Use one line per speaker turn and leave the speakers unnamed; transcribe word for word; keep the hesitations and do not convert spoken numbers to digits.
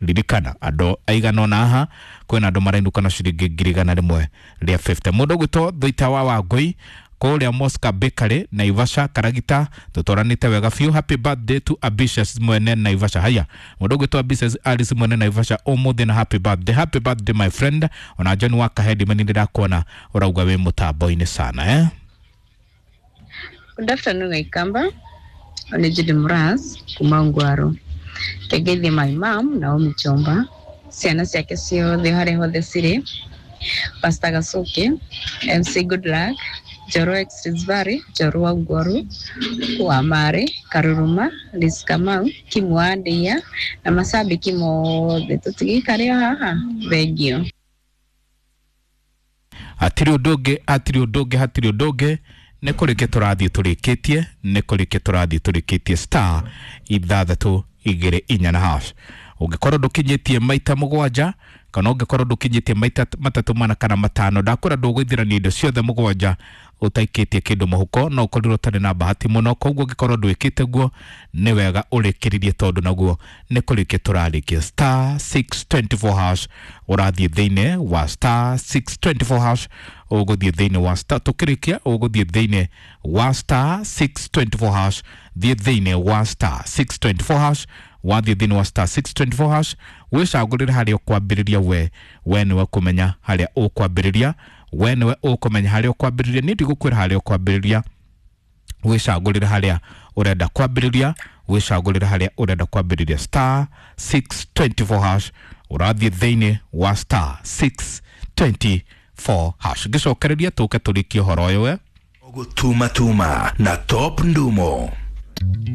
Ririkana andũ aigana ũna haha, kwĩna andũ marainũka na ciringi ngiri igana rĩmwe rĩa mĩrongo ĩtano. Mũndũ ũgwĩtwo Thũita wa Wangũi kũrĩa Mosca Bakery, Naivasha, Karagita, tũtwaranĩte wega biũ. Happy birthday to Ambitious mwene Naivasha. Haya, mũndũ ũgwĩtwo Ambitious Alice mwene Naivasha ũmũthĩ na happy birthday. Happy birthday, my friend. Ona John wa Kahendi meni ndĩrakuona ũrauga wĩ mũtambo-inĩ sana, eh?
Good afternoon, Aikamba. Nĩ Judy Muras kuma Ngwaro. Ngeithie my mom Naomi Chomba, ciana ciake ciothe harĩa hothe cirĩ, Pastor Gasuke, M C Good Luck, Njoro Exrisvari, Njoro wa Ngwaru, wa Mare, Karuruma, Liz Kamau, Kimu wa Ndeia na macambĩki mothe tũtigĩikare o haha. Thengio.
Hatirĩ ũndũ ũngĩ, hatirĩ ũndũ ũngĩ, hatirĩ ũndũ ũngĩ, nĩ kũrĩkia tũrathiĩ tũrĩkĩtie, nĩ kũrĩkia tũrathiĩ tũrĩkĩtie. Star ithathatũ igĩrĩ inya na hash. Ũngĩkorwo ndũkinyĩtie maita mũgwanja kana ũngĩkorwo ndũkinyĩtie maita matatũ, mana kana matano, ndakwĩra ndũgũithirania indo ciothe mũgwanja ũtaikĩtie kĩndũ mũhuko, no ũkorirwo ũtarĩ na bahati mũno. Koguo ũngĩkorwo ndwĩkĩte guo, nĩ wega ũrĩkĩrĩrie tondũ naguo nĩ kũrĩkia tũrarĩkia. Star six twenty-four hash, ũrathiĩ thĩinĩ wa star six twenty-four hash, ũgũthiĩ thĩinĩ wa star, tũkĩrĩkia ũgũthiĩ thĩinĩ wa star six twenty-four hash. Thiĩ thĩinĩ wa star six twenty-four hash. Wathiĩ thĩinĩ wa star six twenty-four hash, wĩcagũrĩre harĩa ũkwambĩrĩria. We we nĩwe kũmenya harĩa ũkwambĩrĩria, we nĩwe ũkũmenya harĩa ũkwambĩrĩria. Niĩ ndigũkwĩra harĩa ũkwambĩrĩria. Wĩcagũrĩre harĩa ũrenda kwambĩrĩria, wĩcagũrĩre harĩa ũrenda kwambĩrĩria. Star six twenty-four hash, ũrathiĩ thĩinĩ wa star six twenty-four hash. Ngĩcokereria tũke tũrĩkie ũhoro ũyũ we.
Gũtuma tuma na Top Ndumo.